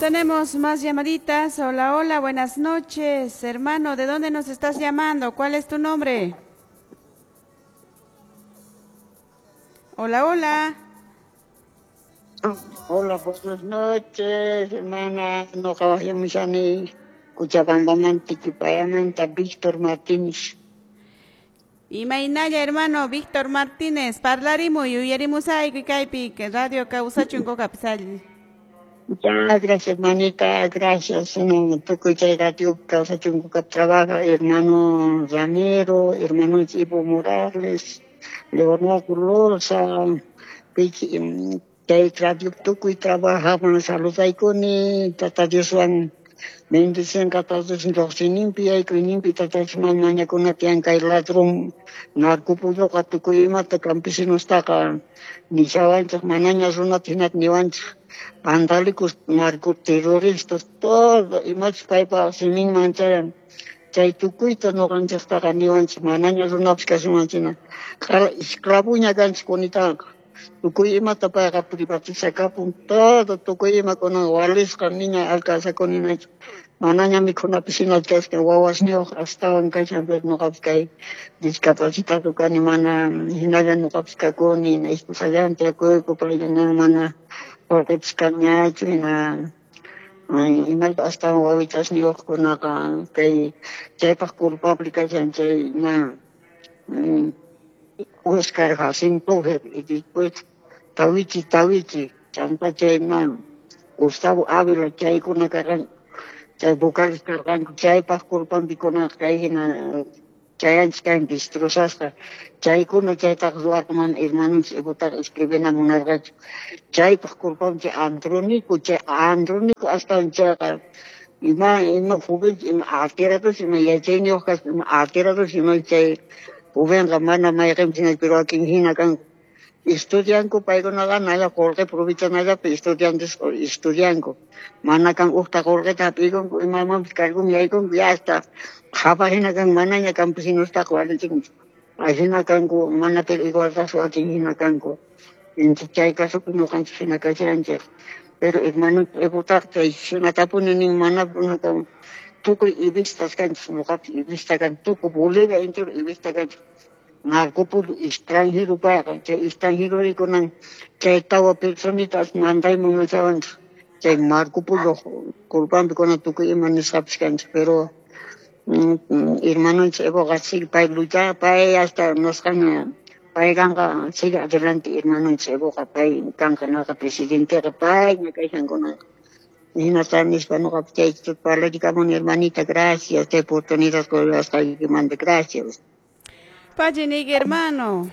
Tenemos más llamaditas. Hola, hola, buenas noches. Hermano, ¿de dónde nos estás llamando? ¿Cuál es tu nombre? Hola, hola. Hola, buenas noches, hermana. Ñuqa Cochabambamanta, Tiquipayamanta, Víctor Martínez. Imaynalla, hermano Víctor Martínez, parlarimuy, yuyarimusayki kaypi Radio Kawsachun Kukapi. Ya, gracias, hermanita, gracias. No, tukuy chay Radio Kawsachun Kukapi trabaja, hermano Ramiro, hermano Ivo Morales, Leonardo Loza, chay radio tukuy trabaja, saludaykuni, Tata Dioswan bendicenqa Tata Dios lluqsinimpi yaykuyninpi Tata Diosman mañakuna tiyan kay ladrón narcopulluqa tukuy imata campesinostaqa nishawanchik manaña runata hinata niwanchik vandálicos, narcoterroristas, todo imachus paypa siminman chayan chay tukuyta ñuqanchiktaqa niwanchik manaña runapas kashawanchikna esclavoña kanchik kunitaqa tukuy imata payqa privatizakapun todo tukuy imakunan walisqa niña alcanzakuninachu manaña mikhunapis hina kasqa wawasniyuq astawan kashan pero ñuqapas kay discapacitado kani mana hinalla ñuqapas kakuni esposallanta tiyakuyku payllana mana qullqipis kanñachu hina imayta astawan wawichasniyuqkunaqa kay chaypaq culpable kashan chay na Oscar Jacinto y después Tawichi Tawichi chanta chay Gustavo Ávila chaykuna karqan chay vocales karqanku chaypaq culpanpi kunaqa kay hina chayanchik kan destrozasqa chaykuna chaytaqa ruwarqa mana hermanonchik Evotaqa escribina munarqachu chaypaq culpanpi chay Andrónico chay Andrónico astawan chayqa ima ima joven ima atirados ima yachayniyuq kaspa ima atirados ima chay jovenqa mana mayqinpis hina pero wakin hina kanku estudianku paykunaqa nalla qullqi provechanallapi estudiantes estudianku mana kan uqta qullqita hap'ikunku imamanpis cargun yaykunku ya hasta qhapaq hina kan manaña campesinostaqa walichinchu ahina kanku mana pero igualdad wakin hina kanku entonces chay casopi ñuqanchik hina kashanchik pero hermano Evotaqa chay hinatapuni nin mana tukuy ivistas kanchik ñuqapis ivista kani tukuy Bolivia entero ivista kanchik narcopullo extranjero payqa chay extranjero kunan chay tawa personitas mandayman nishawanchik chay Marco Polo culpanpi kunan tukuy ima nisqapis kanchik pero hermanonchik Evoqa sigue pay lucha pay hasta nisqaña pay kanqa sigue adelante hermanonchik Evoqa pay kanqa naqa presidenteqa payña kashan kunanqa hinata nispa ñuqapas chay parlarikamuni hermanita, gracias chay oportunidad quwasqaykimanta, gracias. Pachinik, hermano.